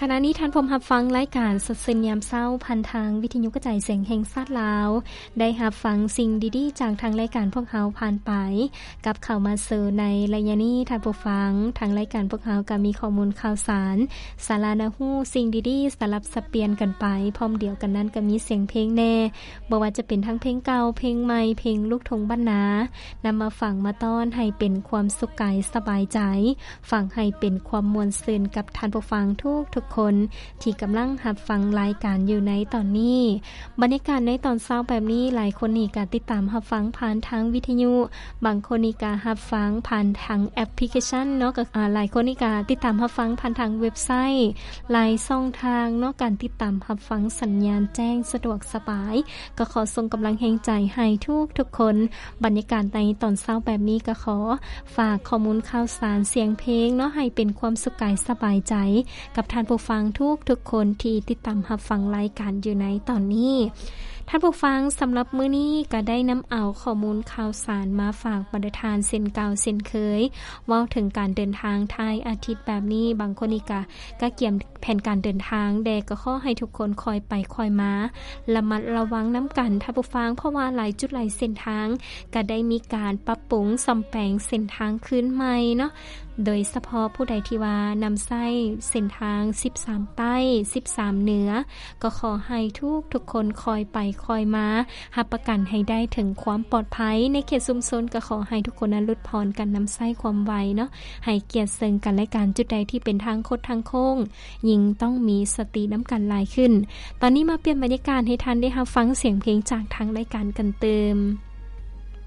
ຂະນະນີ້ທ່ານພົມຮັບຟັງລາຍການສົດຊື່ນຍາມເຊົ້າ ຜ່ານທາງວິທະຍຸກະຈາຍສຽງແຫ່ງຊາດລາວ ໄດ້ຮັບຟັງສິ່ງດີໆຈາກທາງລາຍການພວກເຮົາຜ່ານໄປ. ກັບເຂົ້າມາສູ່ໃນໄລຍະນີ້ ທ່ານຜູ້ຟັງ, ທາງລາຍການພວກເຮົາກໍມີຂໍ້ມູນຂ່າວສານ ສາລະໜ້າຮູ້, ສິ່ງດີໆສະຫຼັບສັບປ່ຽນກັນໄປ. ພ້ອມດຽວກັນນັ້ນກໍມີສຽງເພງແດ່, ບໍ່ວ່າຈະເປັນທັງເພງເກົ່າ, ເພງໃໝ່, ເພງລູກທົ່ງບ້ານນາ, ນຳມາຟັງມາຕ້ອນໃຫ້ເປັນຄວາມສຸກກາຍສະບາຍໃຈ. ຟັງໃຫ້ເປັນຄວາມມ່ວນຊື່ນກັບທ່ານຜູ້ຟັງທຸກໆຄົນທີ່ກຳລັງຮັບຟັງລາຍການຢູ່ໃນຕອນນີ້. ບັນຍາກາດໃນຕອນເຊົ້າແບບນີ້, ຫຼາຍຄົນນີ້ກະຕິດຕາມຮັບຟັງຜ່ານທາງວິທະຍຸ, ບາງຄົນນີ້ກະຮັບຟັງຜ່ານທາງແອັບພລິເຄຊັນເນາະ, ກໍ ອາ ຫຼາຍຄົນນີ້ກະຕິດຕາມຮັບຟັງຜ່ານທາງເວັບໄຊ, ຫຼາຍຊ່ອງທາງເນາະ, ການຕິດຕາມຮັບຟັງສັນຍານແຈ້ງສະດວກສະບາຍ. ກໍຂໍສົ່ງກຳລັງແຮງໃຈໃຫ້ທຸກໆຄົນ. ບັນຍາກາດໃນຕອນເຊົ້າແບບນີ້ ກໍຂໍຝາກຂໍ້ມູນຂ່າວສານສຽງເພງເນາະ ໃຫ້ເປັນຄວາມສຸກກາຍສະບາຍໃຈກັບທ່ານຜູ້ຟັງທຸກໆຄົນທີ່ຕິດຕາມຮັບຟັງລາຍການຢູ່ໃນຕອນນີ້. ທ່ານຜູ້ຟັງ, ສຳລັບມື້ນີ້ກໍໄດ້ນຳເອົາຂໍ້ມູນຂ່າວສານມາຝາກບັນດາທ່ານເຊັ່ນເກົ່າເຊັ່ນເຄີຍ. ເວົ້າເຖິງການເດີນທາງທ້າຍອາທິດແບບນີ້, ບາງຄົນນີ້ກະ ກະກຽມແຜນການເດີນທາງແດ່ ກໍຂໍໃຫ້ທຸກຄົນຄ່ອຍໄປຄ່ອຍມາ, ລະມັດລະວັງນຳກັນທ່ານຜູ້ຟັງ, ເພາະວ່າຫຼາຍຈຸດຫຼາຍເສັ້ນທາງກະໄດ້ມີການປັບປຸງສ້ອມແປງເສັ້ນທາງຄືນໃໝ່ເນາະ. ໂດຍສະເພາະຜູ້ໃດທີ່ວ່ານຳໃຊ້ເສັ້ນທາງສິບສາມໃຕ້, ສິບສາມເໜືອ, ກໍຂໍໃຫ້ທຸກໆຄົນຄ່ອຍໄປຄ່ອຍມາ, ຮັບປະກັນໃຫ້ໄດ້ເຖິງຄວາມປອດໄພໃນເຂດຊຸມຊົນ. ກໍຂໍໃຫ້ທຸກຄົນນັ້ນຫຼຸດຜ່ອນການນຳໃຊ້ຄວາມໄວເນາະ, ໃຫ້ກຽດເຊິ່ງກັນແລະກັນ. ຈຸດໃດທີ່ເປັນທາງຄົດທາງໂຄ້ງ, ຍິ່ງຕ້ອງມີສະຕິນຳກັນຫຼາຍຂຶ້ນ. ຕອນນີ້ມາປ່ຽນບັນຍາກາດໃຫ້ທ່ານໄດ້ຮັບຟັງສຽງເພງຈາກທາງລາຍການກັນຕື່ມ.